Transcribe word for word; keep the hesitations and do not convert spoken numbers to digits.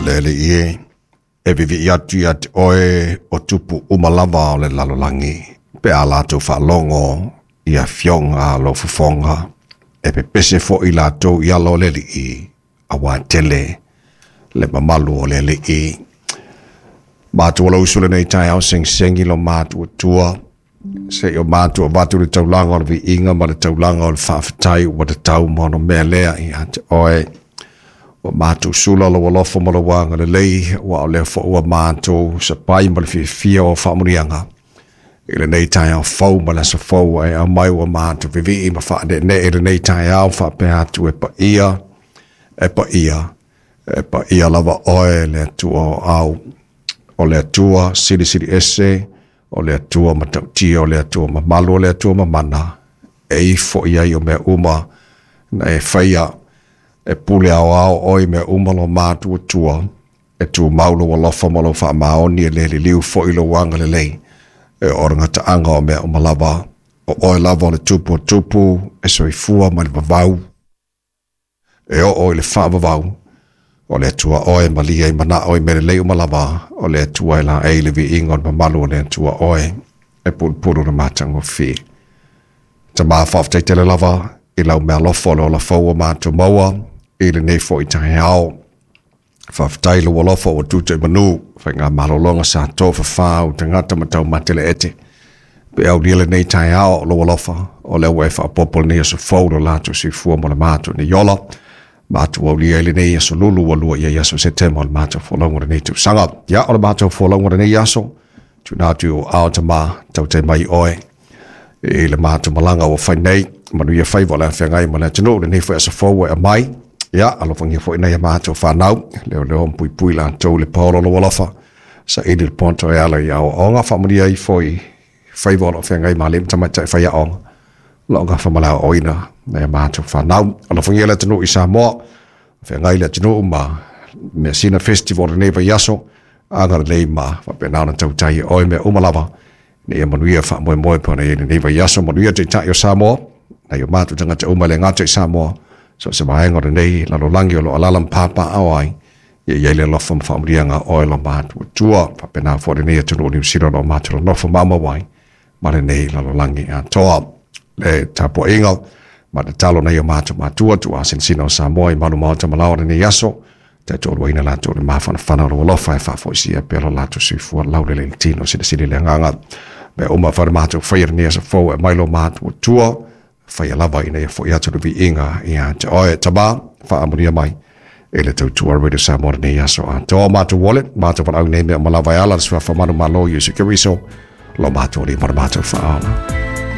Le alii e, e vivi'i atu ia te oe o tupu uma lava o le lalolagi, pe a latou faalogo i afioga a lou fofoga, e pepese fo'i latou i ala o le alii, auā tele le mamalu o le alii. Matou o uso lenei taeao segisegi lo matou Atua, seia o matou avatu le taulaga o le viiga ma le taulaga o le faafetai ua tatau ma ona mea lea ia te oe. Ua matou sula lou alofa ma lou agalelei, ua o lea foi ua matou sapai ma le fiafia o faamanuiaga i lenei taeao fou ma le aso fou ua e aumai ua matou vivii ma faaneenee i lenei taeao faapea atu e paia, e paia, e paia lava oe le Atua o au, o le Atua silisili ese, o le Atua matautia, o le Atua mamalu, o le Atua mamana, e ifo i ai o mea uma na e faia, e pule aoao oe i mea uma lo matou Atua, e tumau lou alofa ma lou faamaoni e le liliu foi lou agalelei, e o le gataaga o mea uma lava, o oe lava o le tupu o tupu, e soifua ma le vavau, e oo i le faavavau, o le Atua oe malia i manao i mea lelei uma lava, o le Atua e laei le viiga o le mamalu o le Atua oe, e pulupulu le matagofie. Tama faafetai tele lava i lau meaalofa o le ola fou ua matou maua i lenei foi taeao. Faafetai lou alofa ua tuta i manu, faigamalologa sa tofafā au tagata ma taumateleete. Pe aulia lenei taeao lou alofa, o lea ua e faaopoopo lenei aso fou lo latou soifua ma le matou nei ola. Matou aulia i lenei aso lulu ua lua i ai aso Setema o le matou folauga o lenei tausaga. Ia, o le matou folauga o lenei aso, tuuina atu i ou aao Tama, tautai mai oe i le matou malaga ua fai nei, manuia faiva o le afeagai ma le atunuu lenei foi aso fou ua e aumai. Ia, alofagia foi nai a matou fanau, leoleo ma puipui latou i le paolo o lou alofa, saili le poto e ala i aoaoga, faamanuia ifo i faiva o lo o feagai ma alii ma tamaitai faiaoga, o lo o gafa ma le aoaoina nai a matou fanau. Alofagia le atunuu i Samoa, feagai le atunuu ma Measina Festival lenei vaiaso, agalelei ma faapena ona tautai e oe mea uma lava, ina ia manuia faamoemoe pe ona i ai lenei vaiaso, manuia Taitai o Samoa, nai o matou tagata uma e le gata i Samoa, so o se vaega o lenei lalolagi o lo o alaala ma papaao ai, ia i ai le alofa ma faamanuiaga a oe lo matou Atua, faapena foi lenei atunuu o Niu Sila o lo o matou nonofo maumau ai ma lenei lalolagi atoa. Le tapuaiga ma tatalo nai o matou matua tuuasinasina o Samoa i malu maota ma laoa lenei aso, taitoaluaina latou i le mafanafana o lou alofa e faafoisia pea lo latou soifua laulelei i le tino silisili le agaga. Mea uma fa le matou faia lenei aso fou e aumai lo matou Atua, faia lava ina ia fo'i atu le viiga ia te oe. Tama, faamanuia mai i le tautua Radio Samoa lenei aso atoa. Matou wallet, matou valaau nei mea uma lava e ala le suafa manumalo Iesu Keriso, lo matou alii ma le matou faaola.